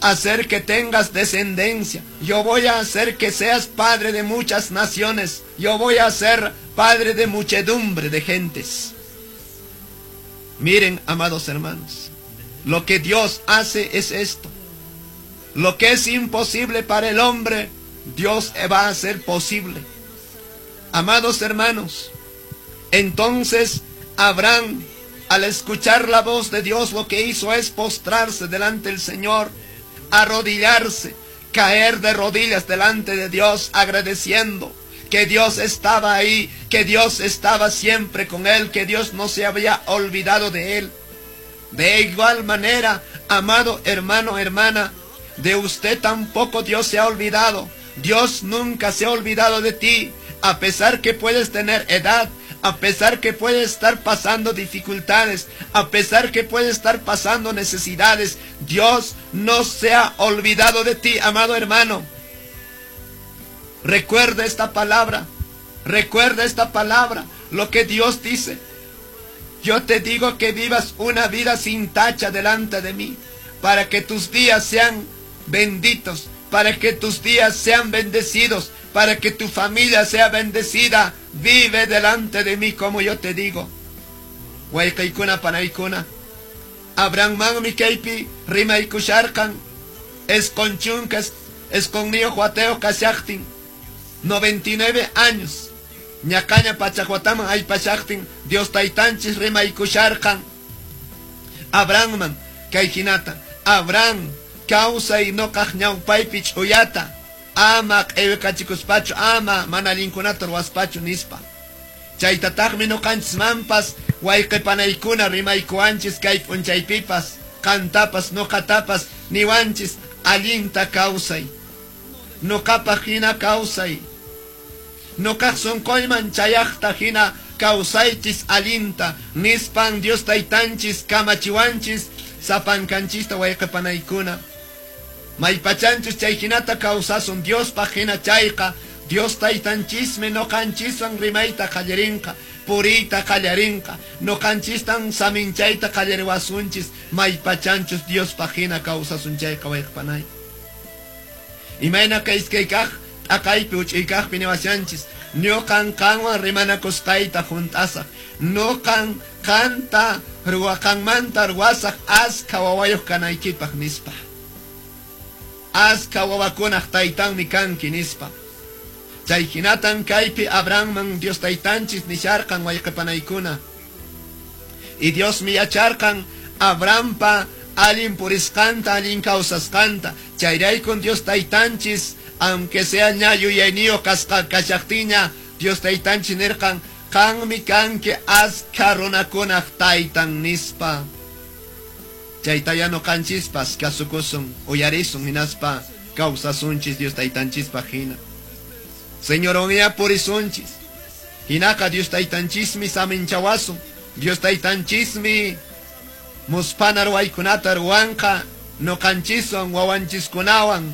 hacer que tengas descendencia. Yo voy a hacer que seas padre de muchas naciones. Yo voy a ser padre de muchedumbre de gentes. Miren, amados hermanos, lo que Dios hace es esto. Lo que es imposible para el hombre, Dios va a hacer posible. Amados hermanos, entonces Abraham, al escuchar la voz de Dios, lo que hizo es postrarse delante del Señor, arrodillarse, caer de rodillas delante de Dios, agradeciendo que Dios estaba ahí, que Dios estaba siempre con él, que Dios no se había olvidado de él. De igual manera, amado hermano, hermana, de usted tampoco Dios se ha olvidado. Dios nunca se ha olvidado de ti, a pesar que puedes tener edad, a pesar que puedes estar pasando dificultades, a pesar que puedes estar pasando necesidades, Dios no se ha olvidado de ti, amado hermano. Recuerda esta palabra, recuerda esta palabra, lo que Dios dice. Yo te digo que vivas una vida sin tacha delante de mí, para que tus días sean benditos, para que tus días sean bendecidos, para que tu familia sea bendecida. Vive delante de mí como yo te digo. Wayqiykuna panaykuna. Abrahammanmi kaypi rimaykusharqan 90 isqunniyuq watayuq kashaqtin, 99 años. Ñaqaña pachak wataman aypashaqtin Dios taytanchis rimaykusharqan Abrahamman kay hinata: "Abraham, kawsay nuqaq ñawpaypi ch'uyata, ama q'iwikachikuspachu, ama mana allinkunata ruwaspachu", nispa. Chaytataqmi nuqanchismanpas, wayqi panaykuna, rimaykuwanchis kay p'unchaypipas, qantapas nuqatapas niwanchis: allinta kawsay, nuqapaq hina kawsay, nuqaq sunquyman chayaqta hina kawsaychis allinta, nispan Dios taytanchis kamachiwanchis sapankanchista, wayqi panaykuna. Maypachanchus chay hinata kawsasun Diospaq hina chayqa, Dios taytanchismi nuqanchiswan rimayta qallarinqa, puriyta qallarinqa, nuqanchistan saminchayta qallariwasunchis maypachanchus Diospaq hina kawsasun chayqa, wayqi panay. Imayna kay iskay kaq t'aqaypi uch'iykaqpi niwashanchis: "Ñuqan qanwan rimanakusqayta hunt'asaq, ñuqan qanta ruwaqanmanta ruwasaq askha wawayuq kanaykipaq", nispa. "Askha wawakunaq taytanmi kanki", nispa. Chay hinatan kaypi Abrahamman Dios taytanchis nisharqan, wayqi panaykuna. Y Diosmi yacharqan Abrahampa allin purisqanta, allin kawsasqanta. Chayraykun Dios taytanchis, aunque sea ña yuyayniyuq kasqa kashaqtinña, Dios taytanchis nirqan: "Qanmi kanki askha runakunaq taytan", nispa. Chaytaya nuqanchispas kasukusun, uyarisun, hinaspa kawsasunchis Dios taytanchispaq hina. Señorwanña purisunchis. Hinaqa Dios taytanchismi saminchawasun. Dios taytanchismi musphana ruwaykunata ruwanqa nuqanchiswan, wawanchiskunawan.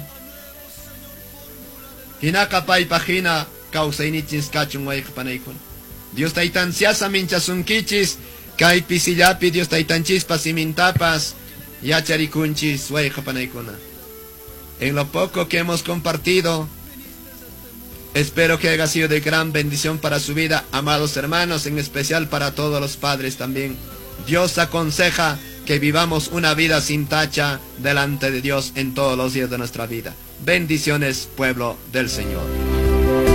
Hinaqa paypaq hina kawsayninchis kachun, wayqi panaykuna. Dios taytanchis saminchasunkichis. Kay pisillapi Dios taytanchispa simintapas yacharikunchis, wayqi panaykuna. En lo poco que hemos compartido, espero que haya sido de gran bendición para su vida, amados hermanos, en especial para todos los padres también. Dios aconseja que vivamos una vida sin tacha delante de Dios en todos los días de nuestra vida. Bendiciones, pueblo del Señor.